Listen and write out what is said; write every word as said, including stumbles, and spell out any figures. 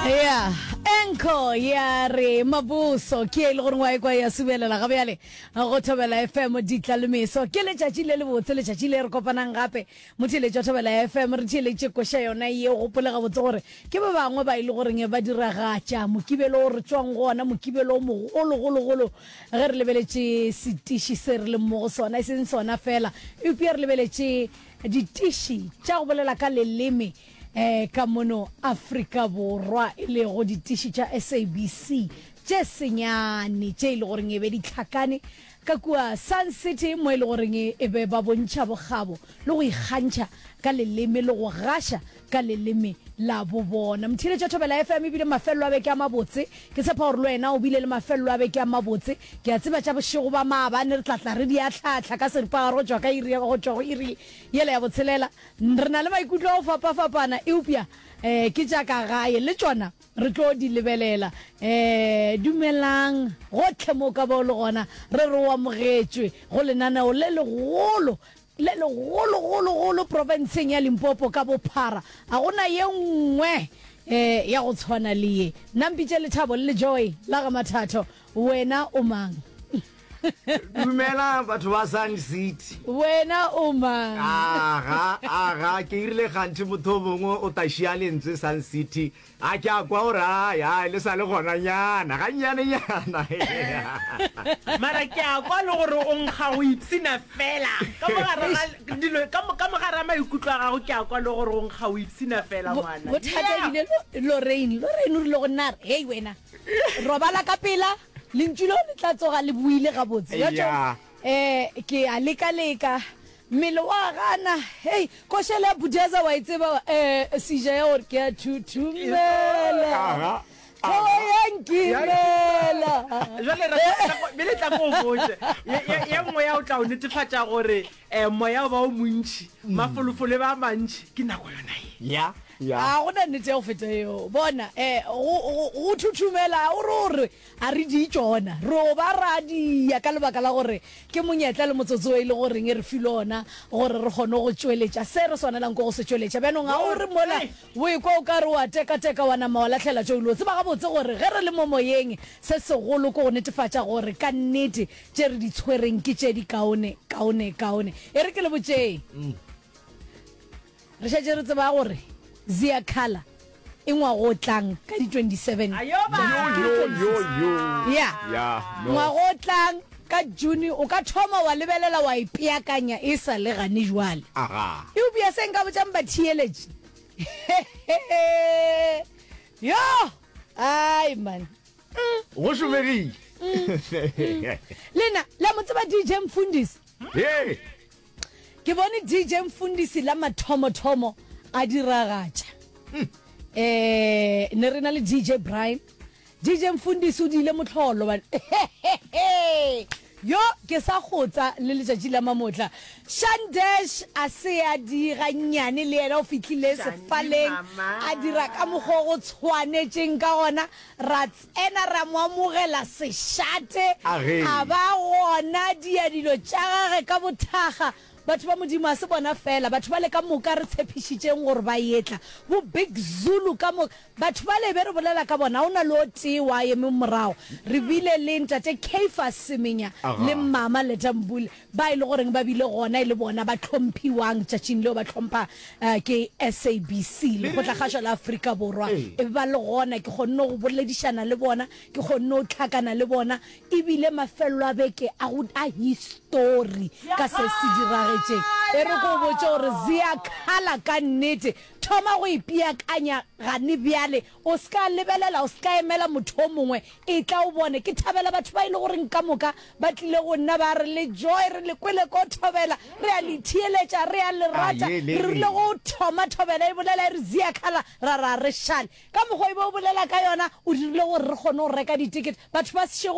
Ya enko ya re mabuso ke e le gore wa ekwa ya subelela ga bjale go Thobela F M. Ditla le meso ke letšatši le lebotse, letšatši le re kopanang gape motheeletši wa Thobela F M. Re theeletše koša yona ye. Gopole gabotse gore ke ba bangwe ba e le goreng ba diragatša Mokibelo o re tšwang go ona, Mokibelo o mogologologolo ge re lebeletše setiši se re leng mo go sona, e seng sona fela eupša re lebeletše ditiši tša go bolela ka leleme um ka mono Afrika Borwa, e lego ditiši tša S A B C tše senyane tše e le goreng e be di tlhakane ka kua Sun City, mo e le goreng e be ba bontšha bokgabo le go ikgantšha ka leleme le go gaša ka leleme la bo bona. Motheeletša Thobela F M, ebile mafelelo a beke a mabotse. Ke tshepa gore le wena o bile le mafelelo a beke a mabotse. Ke a tseba tša bošego ba maabane re tlatla re di atlhatlha ka seripagare go tšwa ka iri go tšwa go iri yela ya botshelela. Re na le maikutlo a go fapafapana, eupša um ke tša ka gae le tšona re tlo di lebelela. um dumelang gotlhe mo ka ba o le gona, re re o amogetšwe go lenaneo le legolo le legologologolo profenseng ya Limpopo ka bophara. A gona ye nngwe um ya go tshwana le ye. Nna mpitše Lethabo le Lejoy la ga Mathatho. Wena o mang? Dumela batho ba Sun City. Wena o mang? Aga aga, ke irile gantši motho o mongwe o tašia lentswe Sun City, a ke a kwa gore ai ai le sa le gona nyana gannyanenyana. Mara ke a kwa le gore o nkga go ipshina fela ka mogare ga dilo, ka mo- ka mogare ga maikutlo a gago. Ke a kwa le gore o nkga o ipshina fela, ngwana. Bothata ebile Lorraine Lorraine o rile go nna re, "Hei wena, robala ka pela, lentšu leo le tla tsoga le buile gabotse." Ya. um ke a leka-leka, mmele wa gana. Hei, košele ya Budeza wa e tseba, um seja ya gore ke a thuthumela. Aga. Tlhogo ya nkimela. Jale bele tla ko o botse ye ye- ye nngwe ya o tla o netefatša gore um moya o ba o montšhi, mafolofolo e ba a mantšhi, ke nako yona ye. Ya ya. A gona nnete ya go feta eo. Bona, um go thuthumela o re gore a re di tšona, re o ba radia ka lebaka la gore ke monyetla le motsotso o e le goreng e re file ona gore re kgone go tšweletša se re swanelang ko go se tšweletša. Bjanong ga o re mola o ekwa o ka re wa tekateka, wa nama wa lahlela tšo ile o tseba gabotse gore ge re le mo moyeng, se segolo ke go netefatša gore ka nnete tše re di tshwereng ke tše di kaone kaone kaone. E re ke le botšeng, re šetše re tseba gore Ziyakhala e ngwago o tlang ka di twenty-seven. Ayo ba! Yo yo yo. Ya. Ya no. Ngwago o tlang ka June o ka thoma wa lebelela wa ipeakanya e sa le gane jwale. Aga. Eupša se nka botšang batheeletši, yo ai man. Go šomegile. Lena la mo tseba D J Mfundisi? Hey. Ke bone D J Mfundisi la mathomothomo a diragatša, um ne re na le D J Brian. D J Mfundisi o diile motlholo bane. Yo ke sa gotsa le letšatši la mamotla. Shandesh a se a dira nnyane, le yena o fihlile sefaleng a dira ka mokgwa o go tshwanetšeng ka gona. Ra tsena ra mo amogela sešate. Age. A ba gona dia dilo tša gage ka bothaga. Batho ba Modimo, a se bona fela, batho ba le ka moka re tshepišitšeng gore ba etla, bo Big Zulu ka moka batho ba le be re bolela ka bona, o na le o tee wa eme morago. Re bile le ntate Caiphus Semenya Aga. le mama Letambule ba e le goreng ba bile gona e le bona ba tlhomphiwang tšatšing leo, ba tlhompha eh, ke S A B C, Lekgotlakgašo la Afrika Borwa. Ee. E be ba le gona, ke kgonne go boledišana le bona, ke kgonne go tlhakana le bona. Ebile mafelelo a beke a go a histori ka se se diragetšeng. E re ko botše gore Ziyakhala ka nnete, thoma go ipeakanya gane bjale. O se ka lebelela, o se ka emela motho o mongwe, e tla o bone. Ke thabela batho ba e le goreng ka moka ba tlile go nna ba re, "Le Joy, re le kwele ko Thobela, re a le theeletša, re a le rata." Aye, le re rile re. Go thoma Thobela e bolela e re Ziyakhala, ra ra re šale ka mokgwa e be o bolela ka yona. O dirile gore re kgone go reka ditikete, batho ba sešego.